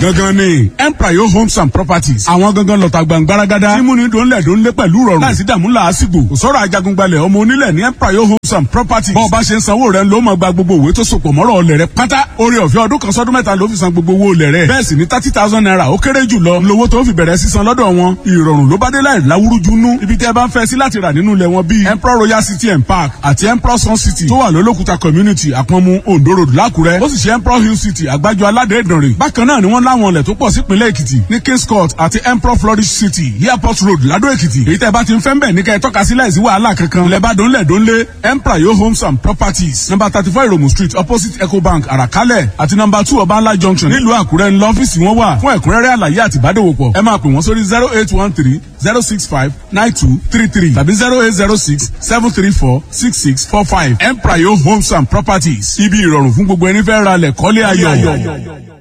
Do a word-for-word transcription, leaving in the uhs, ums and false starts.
Gangan ni Emprayo Homes and Properties. Àwọn gangan lọ́ta gbàngbáragádá. Tí múni dòńlẹ̀ dòńlé pẹ̀lú rọrùn. Láìsí dààmú làásìgbò. Kò sọ̀rọ̀ ajagungbalẹ̀ ọmọ onílẹ̀ ní Emprayo Homes and Properties. Bọ́ọ̀ bá ṣe ń sanwó rẹ̀ ló máa gba gbogbo òwe tó sopọ̀ mọ́rọ̀ ọlẹ̀ rẹ̀ pátá. Orí ọ̀fẹ́ ọdún kan sọ́dún mẹ́ta ló fi san gbogbo owó olẹ̀ rẹ̀. Bẹ́ẹ̀ sì ni thirty thousand naira ó kéré jù lọ. Lówó tó fi bẹ̀rẹ̀ sísan lọ́dọ̀ wọn. Ìrọ̀rùn ló bá dé láì láwúrúju nú. Ibi tí ẹ bá ń fẹ́ sí láti rà nínú ilẹ̀ wọn bíi Emperor Royal City and Park àti Emperor Sun City tó wà lólókùta community Àpọ̀nmu Ondo Road l'Ákúrẹ́. Ó sì ṣe Emperor Hill City Àgbájọ Aládé Ìdànrè. Bákan náà ni wọ́n láwọn ilẹ̀ tó pọ̀ sípínlẹ̀ Èkìtì ní Kings Court àti Emperor Flourish City Airport Road Ládó Èkìtì. Èyí tẹ́ bá ti ń fẹ́ ń bẹ̀ ní kẹ́ ẹ tọ́ka sí láìsí wàhálà kankan. Ilẹ̀ bá dónlẹ̀ dónlé Emperor Yo Homes and Properties number thirty four Ìròmù Street opposite Ecobank Àràkálẹ̀ àti number two Ọbànlá Junction nílùú Àkúrẹ́ ńlọ ọ́fíìsì wọn wà fún ẹ̀kúnrẹ́rẹ́ àlàyé àti ìbádòwòpọ̀. Ẹ máa pè wọ́n sórí zero eight one three zero six five nine two three three tàbí zero eight zero six seven three four six six four five. Emprayo Homes and Properties ibi ìrọ̀rùn fún gbogbo ẹni fẹ́ ra lẹ̀ kọ́lé ayọ̀.